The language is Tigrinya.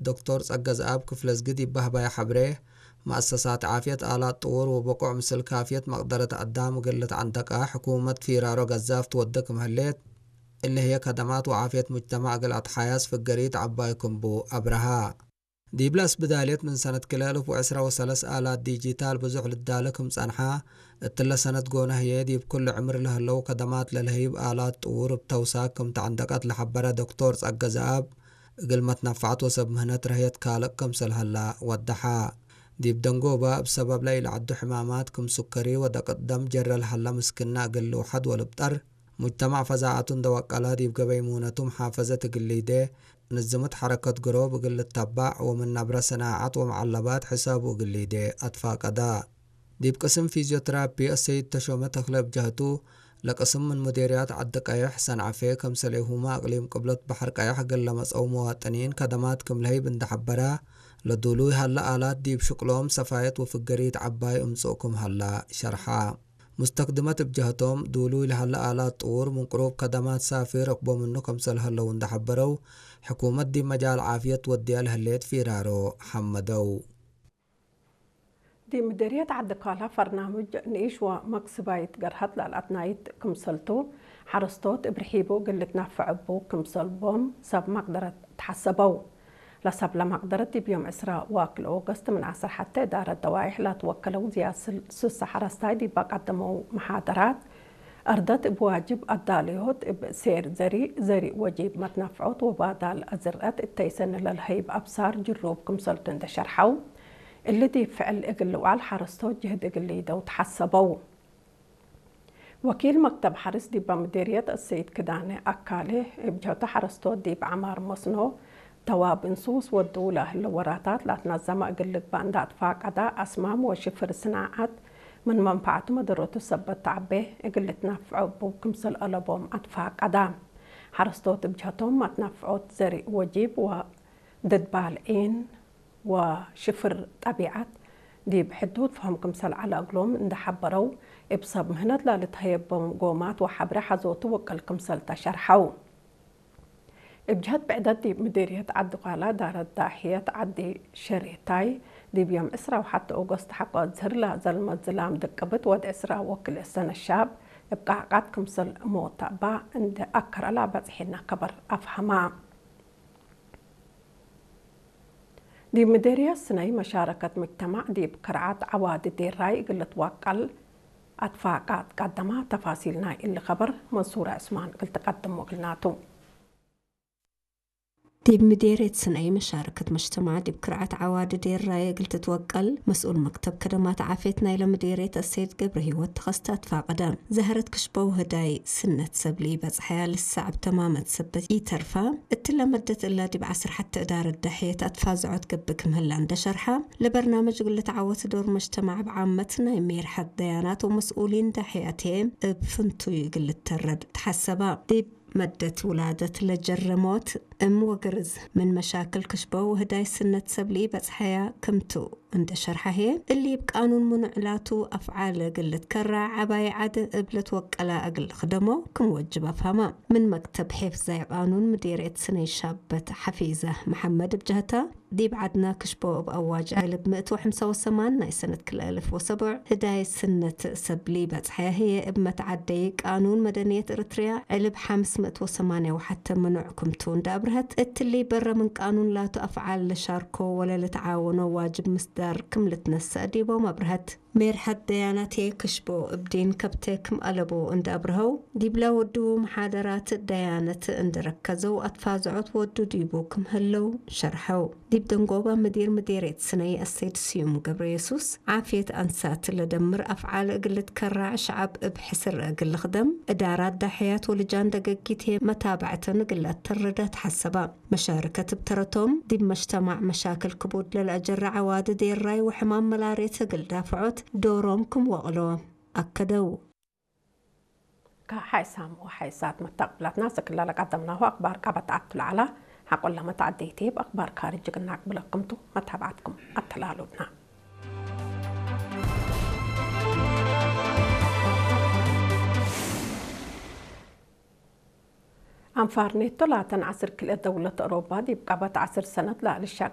ዶክተር ጸገዝኣብ ክፍለዝጊ ዲብ በህባይ ሐብሬ፣ መአሰሳት ዓፍየት ኣላት ጥውር ወበቁዕ ምስል ካፍየት መቅደረት አዳም እግል ልትዐንደቃ ሕኩመት ፊራሮ ገዛፍ ትወዴ ክም ህሌት፣ እሊ ህዬ ከደማት ወዓፍየት ሙጅተማዕ እግል አትሓያዝ ፍገሪት ዐባይ ክም ቡ አብረሃ። ዲብለ እስብዳልየት ምን ሰነት ክልኤ አልፍ ወዕስራ ወሰለስ አላት ዲጂታል ብዙሕ ልዳለ ክም ጸንሓ፣ እትለ ሰነት ጎነ ህዬ ዲብ ኩሉ ዕምር ለህለው ከደማት ለልሀይብ አላት ጥውር እብ ተውሳክ ክም ተዐንደቀት ለሐበረ ዶክተር ጸገዝኣብ፣ እግል መትነፋዕት ወሰብ ምህነት ረህየት ካልእ ክምሰል ሀላ ወደሓ። ዲብ ደንጎባ እብ ሰበብ ለኢለዐዱ ሕማማት ክም ሱከሪ ወደቅት ደም ጀረ ለሀለ ምስክና እግል ልውሐድ ወልብጠር፣ ሙጅተማዕ ፈዛዐቱ እንደ ወቀላ ዲብ ገበይ ሙነቱ መሓፈዘት እግል ሊዴ፣ ንዝምት ሐረከት ግሮብ እግል ልተባዕ ወምን ነብረ ሰናዐት ወመዐለባት ሕሳቡ እግል ሊዴ አትፋቀዳ። ዲብ ቅስም ፊዝዮትራፒ አሰይድ ተሾመ ተክለ እብ ጀህቱ፣ ለቅስም ምን ሙዴርያት ዐዲ ቀየሕ ሰንዐፌ፣ ከምሰሌሁመ አቅሊም ቅብለት በሐር ቀየሕ እግል ለመጽአው መዋጥኒን ከደማት ክም ለህይብ እንደ ሐበራ፣ ለዱሉይ ሀለ አላት ዲብ ሽቅሎም ሰፋየት ወፍገሪት ዐባይ እምጽእ ክም ሀላ ሸርሓ። ሙስተክድመት እብ ጀህቶም፣ ዱሉይ ለሀለ አላት ጥውር ምን ቅሩብ ከደማት ሳፊ ረክቦ ምኑ ከምሰል ሀለው እንደ ሐበረው፣ ሕኩመት ዲብ መጃል ዓፍየት ወድያ ለህሌት ፊራሮ ሐመደው። ዲብ ምዴርየት ዐዲ ኳላ ፈርናምጅ ንኢሽ ወመክስባይት ገርሀት ለልአትናይት ክምሰልቱ፣ ሐረስቶት እብ ርሒቡ እግል ልትናፈዕ እቡ ክምሰል ቦም ሰብ መቅደረት ተሐሰበው። ለሰብለ መቅደረት ዲብ ዮም ዕስራ ወክልኤ ኦገስት ምን ዐስር ሐቴ እዳረት ደዋይሕ ለትወከለው ዝያድ ስል-፣ ስሳ ሐረስታይ ዲብ አቀደመው መሓደራት፣ አርደት እብ ዋጅብ አዳልዮት እብ ሴር ዘሪእ፣ ዘሪእ ወጂብ መትነፍዖት ወባዳል አዝርአት እተይ ሰኒ ለልሀይብ አብሳር ጅሩብ ክምሰልቱ እንደ ሸርሐው፣ እሊ ዲብ ፍዕል እግል ልውዓል ሐረስቶት ጅህድ እግል ሊደው ተሐሰበው። ወኪል መክተብ ሐርስ ዲበ ምዴርየት አሰይድ ክዳነ አካሌ፣ እብ ጀህቱ ሐረስቶት ዲብ ዐማር መስኖ፣ ደዋብ እንሱስ ወድው ለህለ ወራታት ለአትነዘመ እግል ልግበእ እንደ አትፋቀደ፣ አስማም ወሽፍር ስናዐት ምን መንፈዐቱ መደረቱ ሰበት ተዐቤ እግል ልትነፍዖ እቡ ክምሰል አለቦም አትፋቀደ። ሐረስቶት እብ ጀህቶም መትነፍዖት ዘሪእ ወጂብ ወድድ ባልዒን ወሽፍር ጠቢዐት ዲብ ሕዱድ ፈሀም ክምሰል ዐለ እግሎም እንደ ሐበረው፣ እብ ሰብ ምህነት ለልትሀየቦም ጎማት ወሐብሬ ሐዞቱ ወቅል ክምሰል ተሸርሐው። እብ ጀህት ብዕደት ዲብ ምዴርየት ዐዲ ኳላ ዳረት ዳሕየት ዐዲ ሸሬታይ፣ ዲብ ዮም ዕስራ ወሐተ ኦገስት ሐቆ አዝህር ለዘልመ ዝላም ድቅብት ወድ ዕስራ ወክልኤ ሰነ ሻብ እብ ቃዕቃት ክምሰል ሞተ እባ እንደ አከረ ለበጽሒነ ከበር አፍሀማ። ዲብ ምዴርየት ስነይ መሻረከት ሙጅተማዕ ዲብ ከርዓት ዐዋዲ ዴራይ እግል ልትወቀል አትፋቃት ቀደማ። ተፋሲል ናይ እሊ ከበር መንሱረ ዕስማን እግል ትቀድሞ እግልናቱ። ዲብ ምዴርየት ስነይ መሻረከት ሙጅተማዕ ዲብ ከርዓት ዐዋዲ ዴራይ እግል ትትወቀል መስኡል መክተብ ከደማት ዓፍየት ናይለ ምዴርየት አሰይድ ገብረሂወት ተኸስተ አትፋቀደ። ዘህረት ክሽበው ህዳይ ስነት ሰብ ለኢበጽሐያ ልሳዕ እብ ተማመት ሰበት ኢተርፋ፣ እትለ መደት እላ ዲብ ዐስር ሐተ እዳረት ዳሕየት አትፋዝዖት ገብእ ክም ህላ እንደ ሸርሐ፣ ለበርናመጅ እግል ልትዓወት ዶር መጅተማዕ እብ ዓመት ናይ ሜርሐት ደያናት ወመስኡሊን ዳሕያቴ እብ ፍንቱይ እግል ልተረድ ተሐሰባ። ዲብ መደት ውላደት ለጀረ ሞት እም ወግርዝ ምን መሻክል ክሽበው ህዳይ ስነት ሰብ ለኢበጽሐያ ክምቱ። እንደ ሸርሐ ህዬ፣ እሊ እብ ቃኑን ምኑዕ ላቱ አፍዓል እግል ልትከረዕ ዐባይ ዐድ እብ ለትወቀላ እግል ልክደሞ ክም ወጅብ አፍሀማ። ምን መክተብ ሒፍዛይ ቃኑን ምዴርየት ስነይ ሻበት ሐፊዘ መሐመድ እብ ጀህታ፣ ዲብ ዐድና ክሽቦ እብ አዋጅ ዕልብ ምእት ወሐምሳ ወሰማን ናይ ሰነት ክልኤ አልፍ ወሰቡዕ ህዳይ ስነት ሰብ ለኢበጽሐያ ህዬ፣ እብ መትዓደይ ቃኑን መደንየት ኤረትርያ ዕልብ ሐምስ ምእት ወሰማንያ ወሐተ ምኑዕ ክምቱ እንደ አብርሀት፣ እትሊ በረ ምን ቃኑን ላቱ አፍዓል ለሻርኮ ወለ ልትዓወኖ ዋጅብ ምስዳር ክም ልትነሰእ ዲቦም አብርሀት። ሜርሐት ደያናቴ ክሽቦ እብ ዲን ከብቴ ክም አለቦ እንደ አብርሀው፣ ዲብለ ወዱ መሓደራት ደያነት እንደ ረከዘው አትፋዝዖት ወዱ ዲቡ ክም ህለው ሸርሐው። ዲብ ደንጎባ ምዲር ምዴርየት ስነይ አሰይድ ስዩም ገብረየሱስ፣ ዓፍየት አንሳት ለደምር አፍዓል እግል ልትከራዕ ሸዐብ እብ ሕስር እግል ልክደም፣ እዳራት ዳሕያት ወልጃን ደገጊቴ መታብዐተን እግል ለአተርደ ተሐሰባ። መሻርከት እብ ተረቶም፣ ዲብ መጅተማዕ መሻክል ክቡድ ለልአጀረ ዐዋዲ ዴራይ ወሕማም መላርየት እግል ዳፍዖት ዶሮም ክም ወቅሎ አከደው። ከሓይሳም ወሓይሳት መታቅብላትና፣ ስክላ ለቀደምናሁ አክባር ቀበት አቱ ለዐላ፣ ሐቆለ መታዕደይቴ በአክባር ካርጅ ግናቅ ብለክምቱ መታብዓትኩም አተላሉብና። አንፋር ኔቶ ላተን ዐስር ክልኤ ደውለት አውሮባ ዲብ ቀበት ዐስር ሰነት ለልሻቅ